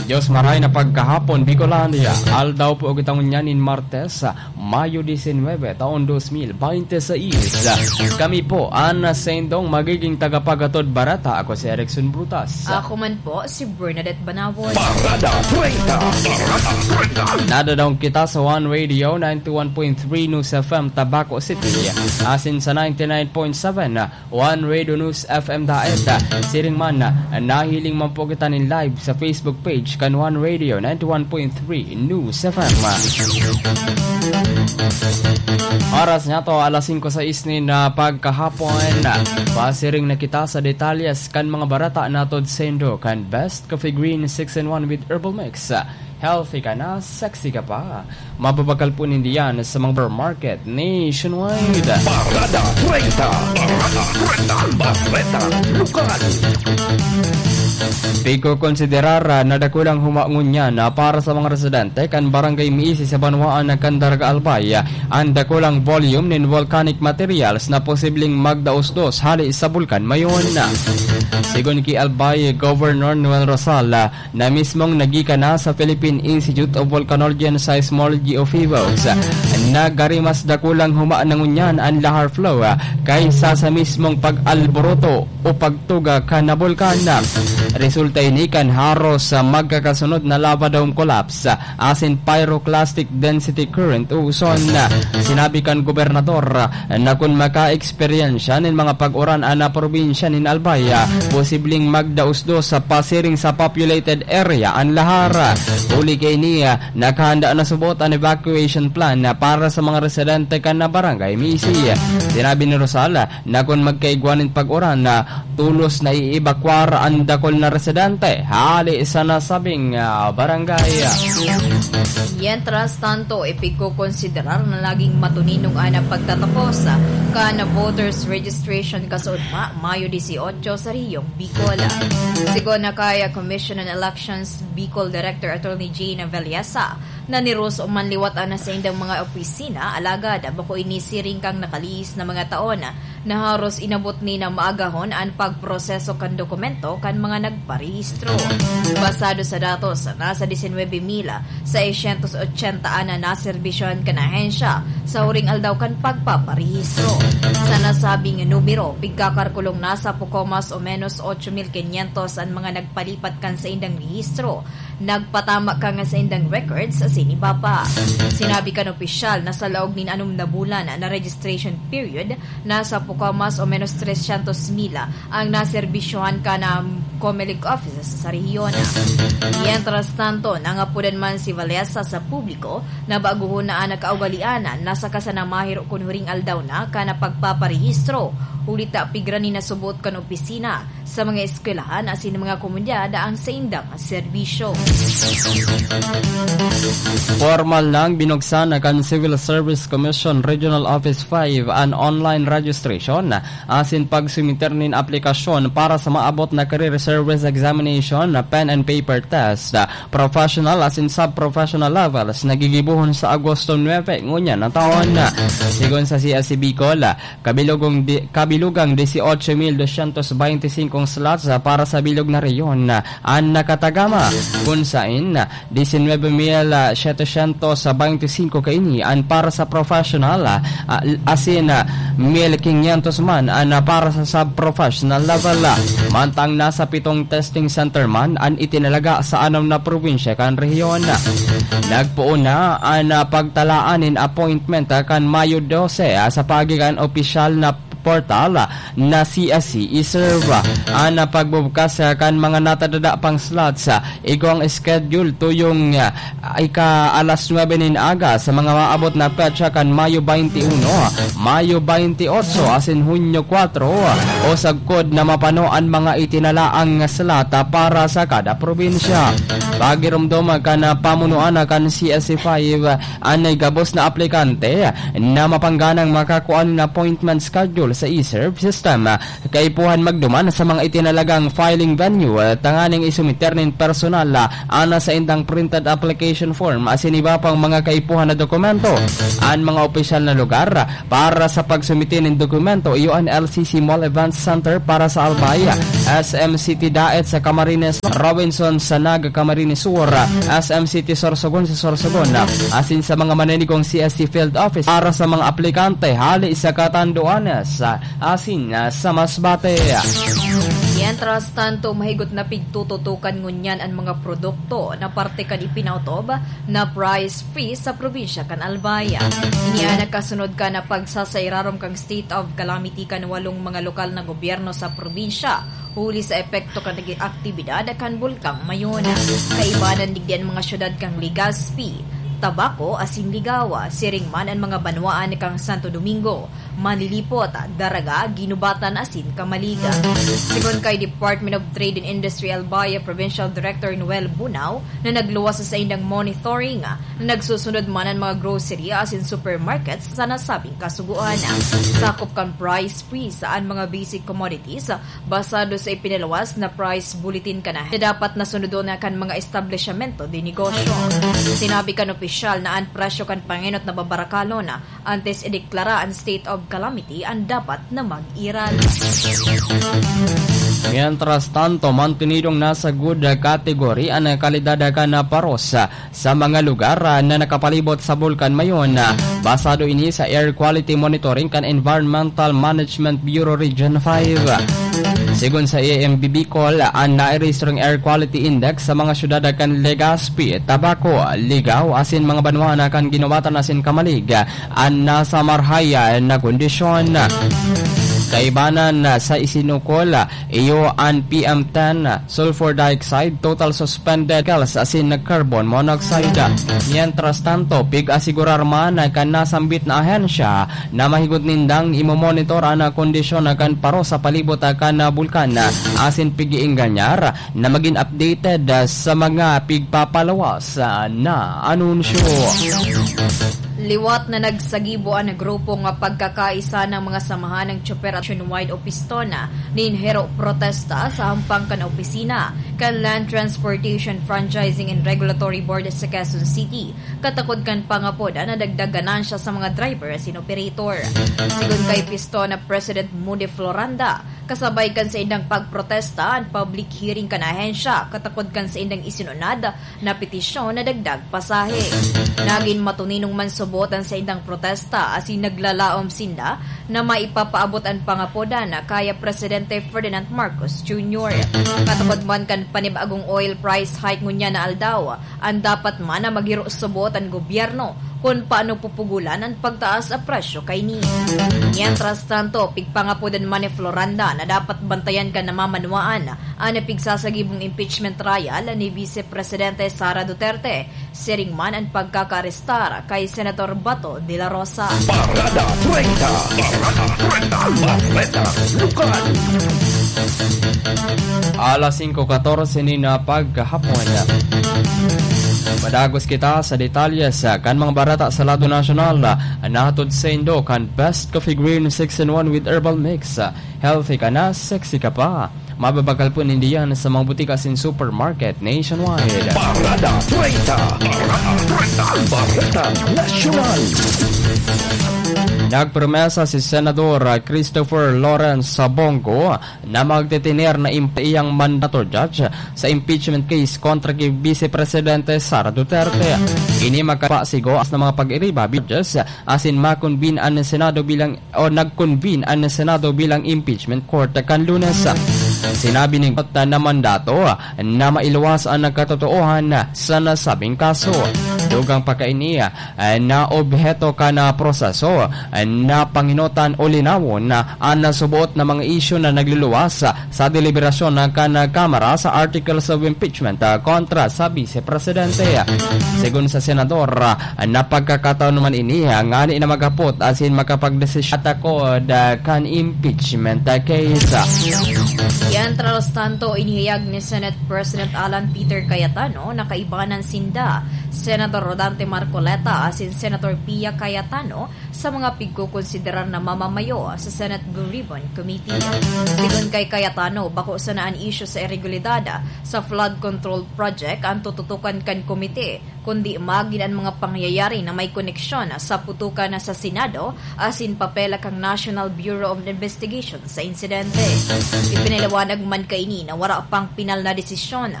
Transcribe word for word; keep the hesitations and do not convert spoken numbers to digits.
Diyos maray na pagkahapon, Bicolandia. Aldaw po kita ngunyan nin Martes, Mayo disinwebe, taon dos mil bente seis. Kami po an saindong magiging tagapaghatod bareta. Ako si Erickson Brutas. Ako man po, si Bernadette Banawon. Parada treinta. Parada treinta. Nadadangog kita sa One Radio, ninety one point three News F M, Tabaco City. Asin sa ninety nine point seven One Radio News F M Daet. Siring man, nahiling man po kita nin live sa Facebook page kan One Radio ninety one point three News F M. Oras niya to, alas singko sais nin, ah, pagkahapon. Pasiring na kita sa detalyes kan mga bareta na hatod saindo kan Best Coffee Green six in one with Herbal Mix. Healthy ka na, sexy ka pa. Mababakal po ninda yan sa mga supermarket nationwide. Parada treinta. Parada treinta. Bareta Lokal. Pigkokonsiderar na dakulang huma ngunyan para sa mga residente kan Barangay Miisi sa banwaan na Candaraga, Albay, an dakulang volume nin volcanic materials na posibleng magdaos-dos hali sa Bulkan Mayon. Sigon ki Albay Governor Noel Rosal, na mismong nagikan na sa Philippine Institute of Volcanology and Seismology o PHIVOLCS. Nagkari mas dakulang huma na ngunyan an lahar flow, ah, kaysa sa mismong pag-alboroto o pagtuga kan bulkan. Resulta ini kan haros sa magkakasunod na lava dome collapse, ah, asin pyroclastic density current o uson. Sinabi kan gobernador, ah, na kun maka-eksperyensya nin mga pag-uran an probinsya nin Albay, posibleng magdaos-dos sa pasiring sa populated area an lahar. Huli kaini, nakahanda na subot an evacuation plan para sa mga residente kan Barangay Miisi. Sinabi ni Rosal na kun magkaigwa nin pag-uran, tolos na iibakwar an dakul na residente hali sa nasabing, ah, barangay. Mientras tanto, ipigkokonsiderar na naging matuninong an pagtatapos kan voters registration kasaugma, Mayo dieciocho, sa Rehiyong Bicol. Sigon na kay Commission on Elections Bicol Director Attorney Jane Vellesa, naniros man liwat an saindang mga opisina, alagad bako ini siring kan nakalihis na mga taon na haros inabot ni na maagahon an pagproseso kan dokumento kan mga nagparehistro. Basado sa datos, nasa disinwebe mil seiscientos ochenta an naserbisyohan kan ahensya sa huring aldaw kan pagpaparehistro. Sa nasabing numero, pigkakarkulong nasa poko mas o menos ocho mil quinientos an mga nagpalipat kan saindang rehistro, nagpatama kan saindang records asin iba pa. Sinabi kan opisyal na sa laog nin anom na bulan na registration period, nasa poko mas o menos trescientos mil ang naserbisyohan kan, um, Comelec offices sa rehiyon. Mientras tanto, nangapodan man si Vallesa sa publiko na baguhon na an kaugalian na saka sana mahiro kun huring aldaw na kan pagpaparehistro, huli ta pigran ni nasubot kan opisina sa mga eskwelahan asin mga komunidad ang saindang serbisyo. Formal nang binuksan na kan Civil Service Commission Regional Office five an online registration asin pagsumiter nin aplikasyon para sa maabot na Career Service Examination na pen and paper test, professional asin sub-professional levels na gigibohon sa Agosto nuebe ngunyan na taon. Sigon sa C S C Bicol, kabilugong di-, kabilugang dieciocho mil doscientos veinticinco slots para sa bilog na rehiyon an nakatagama, kun sain diecinuebe mil setecientos veinticinco kaini an para sa professional, ah, asin, ah, mil quinientos man an para sa sub-professional level. Mantang nasa pitong testing center man an itinalaga sa anom na probinsya kan rehiyon. Nagpoon na an, ah, pagtalaan nin appointment, ah, kan Mayo dose, ah, sa paagi kan opisyal na portal, ah, na C S C e-serve. An, ah, pagbubukas, ah, kan mga natadada pang slots, ah, igwang schedule tuyong, ah, ika alas nuebe nin aga sa mga maabot na petsa kan Mayo baynte uno, Mayo baynte otso asin Hunyo kwatro, o sagkod na mapano an mga itinalaang slot, ah, para sa kada probinsya. Pagiromdom kan, ah, pamunuan kan C S C five, ah, an gabos na aplikante na mapangganang makakua nin appointment schedule sa e-serve system. Kaipuhan magduman sa mga itinalagang filing venue, tanganing isumiter nin personal, ah, an saindang printed application form asin iba pang mga kaipuhan na dokumento. An mga opisyal na lugar para sa pagsumite nin dokumento iyo an L C C Mall Event Center para sa Albay, S M City Daet sa Camarines, Robinson sa Naga, Camarines Sur, S M City Sorsogon sa Sorsogon, asin sa mga maninigong C S C Field Office para sa mga aplikante hali sa Catanduanes asin sa Masbate. Mientras tanto, mahigot na pigtututukan ngunyan an mga produkto na parte kan ipinaotob na price freeze sa probinsya kan Albay. Ini an nagkasunod kan pagsasairarom kan state of calamity kan walong mga lokal na gobyerno sa probinsya, huli sa epekto kan naging aktibidad kan Bulkang Mayon. Kaibanan digdi an mga syudad kan Legazpi, Tabaco asin Ligao, siring man an mga banwaan kan Santo Domingo, Manlilipot, Daraga, Guinobatan asin Camalig. Sigon kay Department of Trade and Industry Albay Provincial Director Noel Bunao, na nagluwas sa saindang monitoring, na nagsusunod man an mga grocery asin supermarkets sa nasabing kasugoan. Sakop kan price freeze an mga basic commodities, basado sa ipinaluwas na price bulletin kan ahensya, dapat na sunodon na kan mga establisyamento de negosyo. Sinabi kan opisyal na an presyo kan pangenot na babarakalon antes ideklara an state of calamity an dapat na mag-iral. Mientras tanto, mantenidong nasa good category an kalidad kan paros sa mga lugar na nakapalibot sa Bulkan Mayon. Basado ini sa Air Quality Monitoring kan Environmental Management Bureau Region five. Sigon sa A M B Bicol, an nairehistrong Air Quality Index sa mga syudad kan Legazpi, Tabaco, Ligao asin mga banwa na kan Guinobatan asin Camalig an nasa marahay na kondisyon. Kaibanan sa isinukol, iyo an P M ten, sulfur dioxide, total suspended chemicals asin carbon monoxide. Mientras tanto, pig-asigurar man kan nasambit na ahensya na mahigot nindang imomonitor an kondisyon kan paros sa palibot kan bulkan asin pig-iingganyar na magin updated sa mga pigpapalawas na anunsyo. Liwat na nagsagibo an grupo nga Pagkakaisa ng mga Samahan ng Tsoper at Nationwide o PISTONA nin hero protesta sa hampang kan opisina kan Land Transportation Franchising and Regulatory Board sa Quezon City, katakod kan pangapod na dagdag ganansya sa mga driver asin operator. Sigon kay PISTONA President Moody Floranda, kasabay kan saindang pagprotesta an public hearing kan ahensya, katakod kan saindang isinunad na petisyon na dagdag pasahe. Nagin matuninong man subot an saindang protesta asin naglalaom sinda na maipapaabot an pangapodan kaya Presidente Ferdinand Marcos Junior. Katakod man kan panibagong oil price hike ngunyan na aldaw, an dapat man na maghiro subot an gobyerno kun paano pupugulan an pagtaas a presyo kaini. Mientras tanto, pigpangapodan man ni Floranda na dapat bantayan kan namamanwaan an pigsasagibong impeachment trial ni Vice Presidente Sara Duterte, siring man an pagkakaarestar kay Senator Bato de la Rosa. Parada treinta. Parada treinta. Bareta Lokal. Alas singko katorse nin pagkahapon. Madagos kita sa detalye sa kan mga bareta sa lado nasyonal. Nahatod saindo kan Best Coffee Green six in one with Herbal Mix. Healthy ka na, sexy ka pa. Mababakal po ninda yan sa mga butika asin supermarket nationwide. Parada treinta. Parada treinta. Bareta Nasyonal. Nagpromesa si Senador Christopher Lawrence Bongo na magtitiner na imp-, iyang mandato judge sa impeachment case kontra ki Vice Presidente Sara Duterte. Ini makapasigo sa mga pag-iriba judges asin makonvene an Senado bilang o nag-convene an Senado bilang impeachment court kan Lunes. Sinabi nin court na mandato na mailuwas an katotoohan sa nasabing kaso. Dugang pa kaini, na obheto kan proseso na pangenotan o linawon an suboot na mga isyu na nagluluwas sa deliberasyon kan Kamara sa articles of impeachment kontra sa Vice Presidente. Segun sa senador, na pagkakataon man ini ngani na maghapot asin makapagdesisyon takod kan impeachment case. Mientras tanto, inihayag ni Senate President Alan Peter Cayetano na kaibanan sinda, Senator Rodante Marcoleta asin Senator Pia Cayetano sa mga pigkokonsiderar na mamamayo sa Senate Blue Ribbon Committee. Sigon kay Cayetano, bako sana an isyu sa iregularidad sa flood control project ang tututukan kan komite, kundi magin an mga pangyayari na may koneksyon sa putukan sa Senado asin papel kan National Bureau of Investigation sa insidente. Ipinaliwanag man kaini na wala pang pinal na desisyon